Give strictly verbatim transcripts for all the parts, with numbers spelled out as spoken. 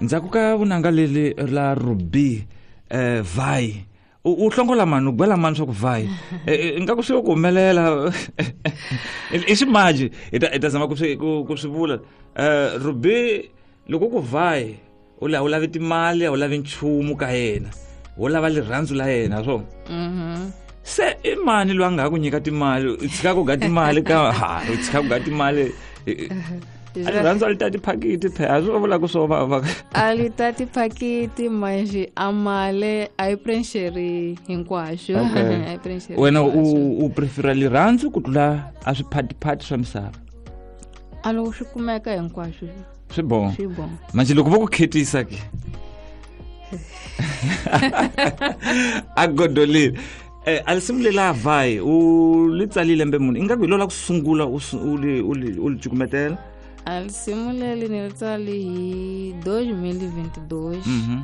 Ndzhaku ka vunanga leli la Ruby eh vai u hlongola mani u gwela mani swa ku vai ingaku swi ku humelela i ximaji hi ta hi ta zama ku swi ku swi vula eh Ruby loko ku vai u la u lavi timali a u lavi nchumu ka yena wo lava rirhandzu la yena swo mhm se i mani loyi a nga ha ku nyika timali u tshika ku ga timali ka ha u tshika ku ga timali a rirhandzu a li tati phakiti phe a swi vula ku swo va va a li tati phakiti mas a mali a yi preenxeri hinkwaswo Okay. a yi preenxeri wena u hinkwaswo. u prefera rirhandzu ku tlula a swiphatipati swa misava a loko swi kumeka hinkwaswo swi bon swi bon manje loko vo ku khetisa ke a godolile eh a risimu lela vai u li tsalile lembe muni ingaku hi lo la ku sungula u su- u li u li u li cukumetela a risimu leri ni ri tsale hi dois mil e vinte e dois mhm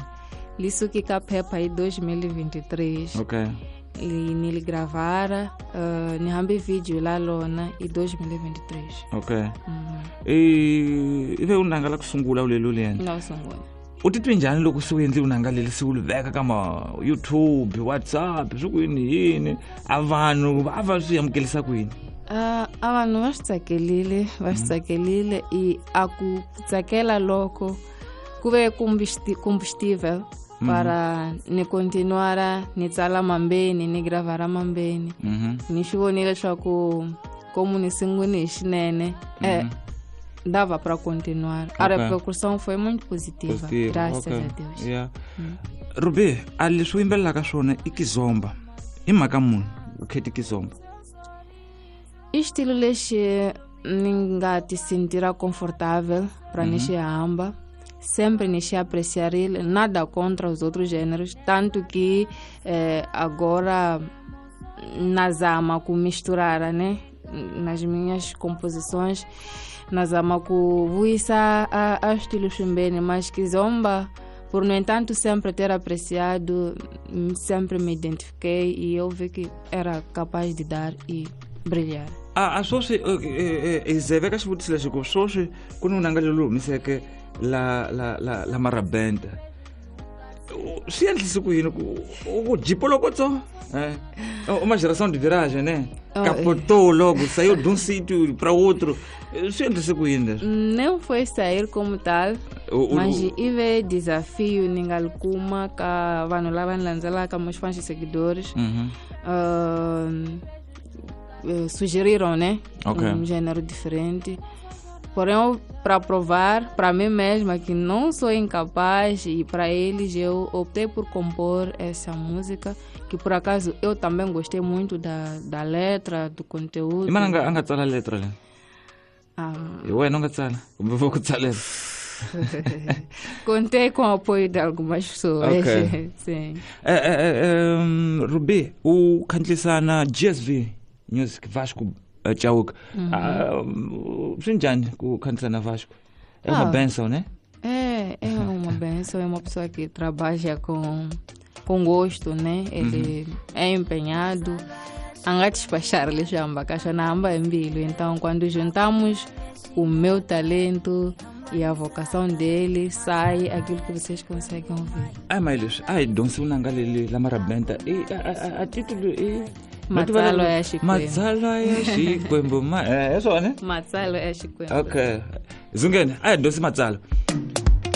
li suke ka phepha hi dois mil e vinte e três okay li ni li gravara uh, ni hambi video la lona hi dois mil e vinte e três okay Mhm. i i ve u nanga la ku sungula u leli u li endla la sungula u titwe njhani loko se u endle vunanga leli se u li veka ka ma YouTube WhatsApp swi ku yini yini a vanhu va va swi amukelisa ku yini Uh, a vanhu va swi tsakelile va swi tsakelile i a ku tsakela loko ku ve combusti- combustível para ni continuara ni tsala mambeni ni gravara mambeni mhm ni swi vonile leswaku como ni sungule hi xinene eh, dava para continuar a Ok. repercussão foi muito positiva, Positiva, graças okay. a Deus yeah Ruby a leswi u yimbelelaka swona i kizomba i mhaka munhu u kheti kizomba I xitilo lexi ni nga ti sentira confortável para ni xi hamba sempre ni xi apreciarile nada contra os outros gêneros tanto que eh, agora nazama ku misturar né nas minhas composições nazama ku vuyisa a, a estilo swimbeni mas kizomba por no entanto sempre ter apreciado hum, sempre me identifiquei e eu vi que era capaz de dar e brilhar a a swoswi hi ze veka xivutiso lexi ku swoswi ku ni vunanga leli humiseke la la la la marabenta U- swi endlise ku yini ku u ku jipo loko tso eh uma geração de viragem né Oh, capotou logo saiu de um sítio para outro swi endlise ku yini leswi não foi sair como tal U- u- mas i ve desafio ni nga li kuma ka vanhu lava ni landzelaka meus fãs e seguidores Mhm. uh, eh, sugeriram né Ok. um gênero diferente porém para provar para mim mesma que não sou incapaz e para eles eu optei por compor essa música que por acaso eu também gostei muito da, da letra do conteúdo i mani a nga a nga tsala letra leyi Ah, hi wena u nga tsala kumbe vo ku tsalela contei com o apoio de algumas pessoas Ok. sim Eh, eh, eh, um, Ruby u khandlisana G S V Music Vasco eh, Chauke Ah, um, swi njhani ku khandlisana Vasco é uma Ah. benção né É, é uma benção, é uma pessoa que trabalha com, com gosto, né? Ele é empenhado. A nga despachar lexamba kasha na hamba embilu. Então, quando juntamos o meu talento e a vocação dele, sai aquilo que vocês conseguem ouvir. ai mas leswi a hi dyondzisi vunanga leli la marabenta i a, a, a titulo i Matsalwa ya Xikwembu. matsalwa ya xikwembu ma eh, hi swona Matsalwa ya Xikwembu. okay zungene a hi dyondzisi matsalwa